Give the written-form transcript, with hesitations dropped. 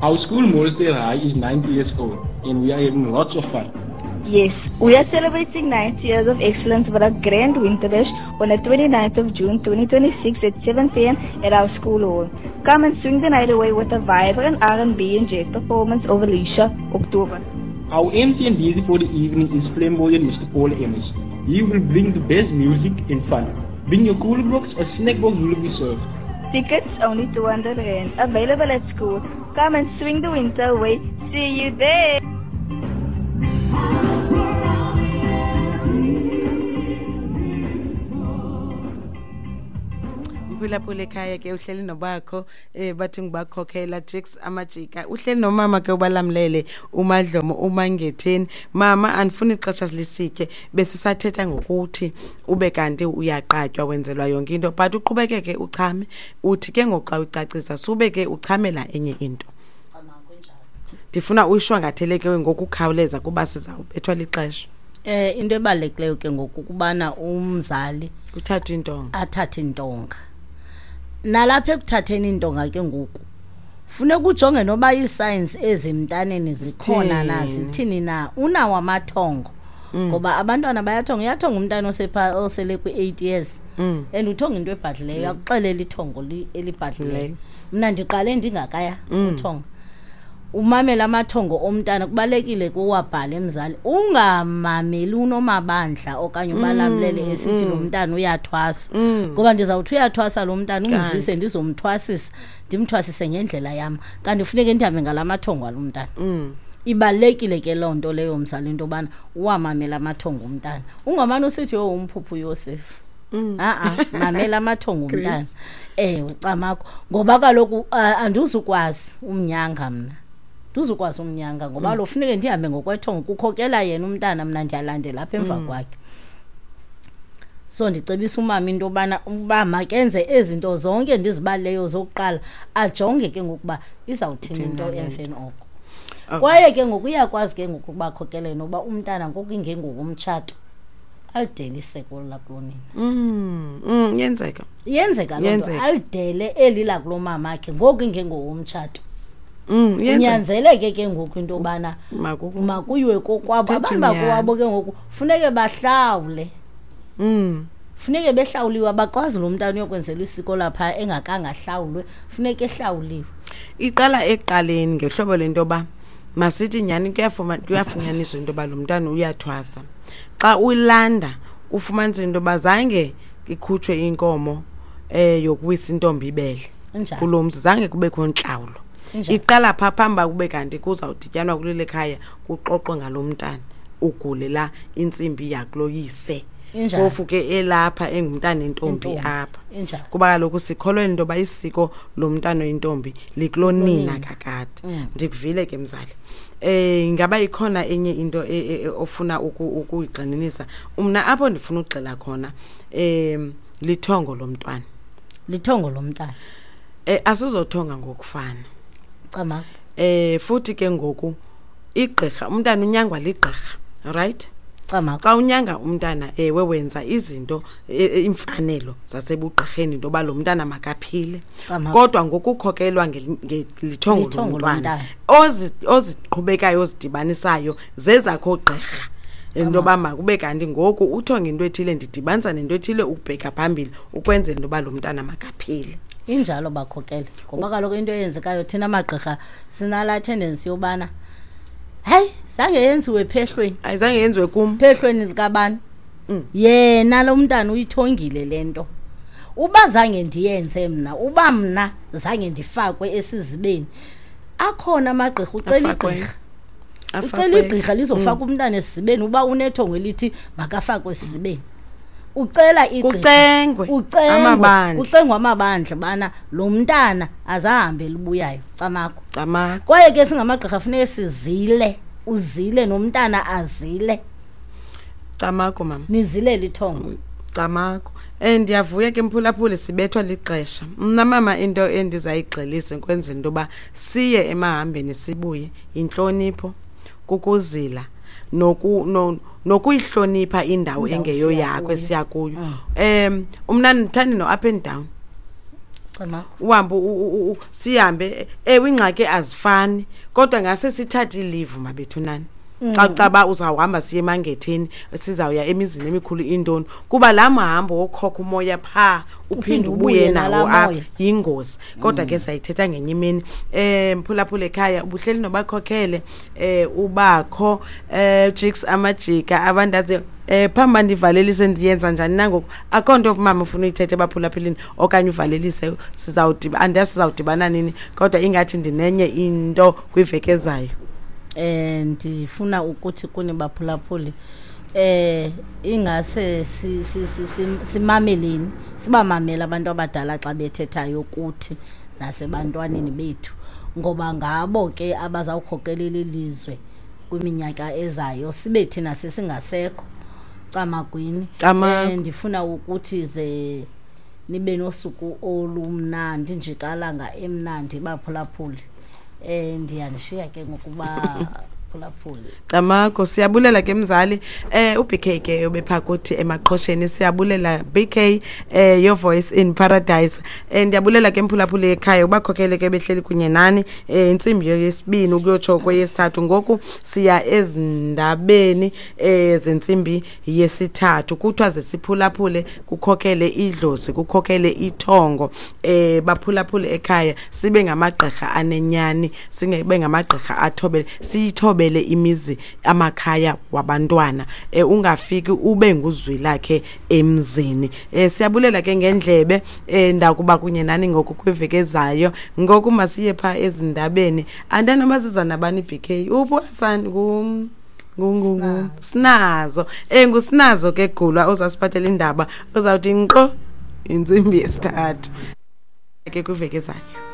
Our school, Morrisdale High, is 90 years old and we are having lots of fun. Yes, we are celebrating 90 years of excellence with a grand winter bash on the 29th of June 2026 at 7 p.m. at our school hall. Come and swing the night away with a vibrant R&B and jazz performance of Alicia October. Our MC and DJ for the evening is flamboyant Mr. Paul Emmers. He will bring the best music and fun. Bring your cooler box, a snack box will be served. Tickets only 200 rand, available at school. Come and swing the winter away. See you there. Mphulaphula ekhaya ke uhleli nobakho bathi ngibakhokhela Jakes Amajika, uhleli nomama ke ubalamlele uMadlomo uMangetheni. Mama, andifuni ixesha lisitye, besisathetha ngokuthi ube kanti uyaqatywa wenzelwa yonke into, but uqhubekeke uchame, uthi ke ngoku xa uyicacisa sube ke uchamela enye into. Ndifuna uyishwangathele ke ngokukhawuleza kuba sizawubethwa lixesha. Into ebalulekileyo ke ngoku kubana umzali kuthathwe intonga, athathe intonga. Nalapha ekuthatheni intonga ke ngoku funeka ujonge noba ii-signs ezimntaneni zikhona na, zithini na, unawo amathongo. Ngoba abantwana bayathonga, uyathonga umntana osele kwi-8 years. And uthonga into ebhadlileyo, akuxelela ithongo elibhadlileyo. Mna ndiqale ndingakaya uthonga. Umamela amathongo omntana, kubalekile kuwabhale mzali. Ungamameli unomabandla okanye ubalamlele esithi lo mntana uyathwasa. Ngoba ndizawuthi uyathwasa lo mntana, umzise ndizomthwasisa, ndimthwasise ngendlela yam. Kanti funeke ndihambe ngala mathongo alo mntana. Ibalulekile ke loo nto leyo mzali, into yobana uwamamele amathongo omntana. Ungamane usithi yho umphuphu Yosef. Mamela amathongo omntana. Ewe, camakho. Ngoba kaloku andizukwazi umnyanga mna. Ndizukwazi umnyanga ngoba lo funeke ndihambe ngokwethongo, kukhokela yena umntana, mna ndiyalandela apha emva kwakhe. So ndicebisa umama into yobana uba makenze ezi zinto zonke ndizibalileyo zokuqala, ajonge ke ngokuba izawuthini into emveni oko. Kwaye ke ngoku uyakwazi ke ngoku ukubakhokelela nokuba umntana ngoku ingengokomtshato alidele iseko lakulonina. Yenzeka. Yenzeka loo nto, alidele eli lakulo mamakhe ngoku ingengokomtshato. Unyanzeleke ke ngoku into yobana makuyiwe kokwabo. Abantu bakowabo ke ngoku funeke bahlawule. Funeke behlawuliwe, abakwazi lo mntana uyokwenzela isiko lapha engakangahlawulwe, funeke ehlawuliwe. Iqala ekuqaleni ngehlobo lento yoba masithi nyhani kuyafunyaniswa into yoba lo mntana uyathwasa. Xa uyilanda ufumanise into yoba zange ikhutshwe inkomo yokuwisa intombi ibele. Kulo mzi zange kubekho ntlawulo. Iqala pha phambi kube kanti kuzawudityanwa kuleli khaya kuxoxwe ngalo mntana ugulela intsimbi yakuloyise. Phofu ke elapha engumntana intombi apha. Kuba kaloku sikholwa into yoba isiko lomntana oyintombi likulonina kakade. Ndikuvile ke mzali. Ingaba ikhona enye into ofuna ukuyigxininisa? Mna apho ndifuna ukugxila khona lithongo lomntwana. Lithongo lomntana. Asizothonga ngokufana. Cama. Futhi ke ngoku igqirha, umntana unyangwa ligqirha, right? Cama. Xa unyanga umntana ewe wenza izinto imfanelo zasebugqirheni into yoba lo mntana makaphile. Kodwa ngokukhokelwa ngelithongo lomntwana oziqhubekayo ozidibanisayo zezakho gqirha. Into yoba makube kanti ngoku uthonge into ethile ndidibanisa nento ethile ukubheka phambili ukwenzela into yoba lo mntana makaphile. Injalo bakhokele. Ngoba kaloku into eyenzekayo thina amagqirha sinala tendency yobana hayi zange yenziwe phehlweni. Ayizange yenziwe kum. Phehlweni likabani? Yena lo mntana uyithongile le nto. Uba zange ndiyenze mna, uba mna zange ndifakwe esizibeni. Akhona amagqirha, ucela igqirha. Ucela igqirha lizofaka umntana esizibeni uba unethongo elithi makafakwe esizibeni. Ucela igqirha. Kucengwe. Kucengwe amabandla bana lo mntana azahambe libuyayo. Camakho. Camakho. Kwaye ke singamagqirha funeke sizile, uzile nomntana azile. Camakho mama. Nizile lithongo. Camakho. Ndiyavuya ke mphulaphuli sibethwa lixesha. Mna mama into endizayigxilisa kwenzela into yoba siye emahambeni sibuye intlonipho, kukuzila nokuyihlonipha indawo engeyo yakho esiya kuyo. Mna ndithanda no up and down. Uhambe sihambe. Ewe, ingxaki azifani, kodwa ngase sithathe i-leave mabethu nani. Xa caba uzawuhamba siye emangetheni, sizawuya emizini emikhulu, intoni, kuba laa mhambo wokhokha umoya phaa uphinde ubuye nawo apha yingozi. Kodwa ke sayithetha ngenye imini. Mphulaphula ekhaya, ubuhleli nobakhokhele ubakho jiks amajika abandaziyo. Phambi uba ndivalelise, ndiyenza njani nangoku? Akho nto mama ufuna uyithethe ebaphulaphuleni okanye uvalelise? Sizawudiba, andiyazi sizawudibana nini, kodwa ingathi ndinenye into kwiveki ezayo. Ndifuna ukuthi kuni baphulaphuli, ingase simameleni, sibamamele abantu abadala xa bethethayo kuthi nasebantwaneni bethu, ngoba ngabo ke abazawukhokelela ilizwe kwiminyaka ezayo sibe thina sesingasekho. Camagwini. Ndifuna ukuthi ze nibe nosuku olumnandi, njikalanga emnandi, baphulaphuli. Ndiyanishiya ke ngokuba phulaphuli. Camako, siyabulela ke mzali. uBK ke obepha kuthi emaqhosheni, siyabulela BK, your voice in paradise. Ndiyabulela ke mphulaphuli ekhaya, ubakhokhele ke behleli kunye nani intsimbi yesibini ukuyotsho kweyesithathu. Ngoku siya ezindabeni zentsimbi yesithathu. Kuthiwa ze siphulaphule, kukhokele idlozi, kukhokele ithongo. Baphulaphule ekhaya, sibe ngamagqirha anenyani, singebe ngamagqirha athobele, siyithobele imizi, amakhaya wabantwana. Ungafiki ube nguzwi lakhe emzini. Siyabulela ke ngendlebe. Ndakuba kunye nani ngoku kwiveki ezayo. Ngoku masiye pha ezindabeni. Andanoba siza nabani. BK uphi? Asani ngu Sinazo. Ngusinazo ke gulwa ozasiphathela indaba, ozawuthi nkqo intsimbi yesithathu ke kwiveki ezayo.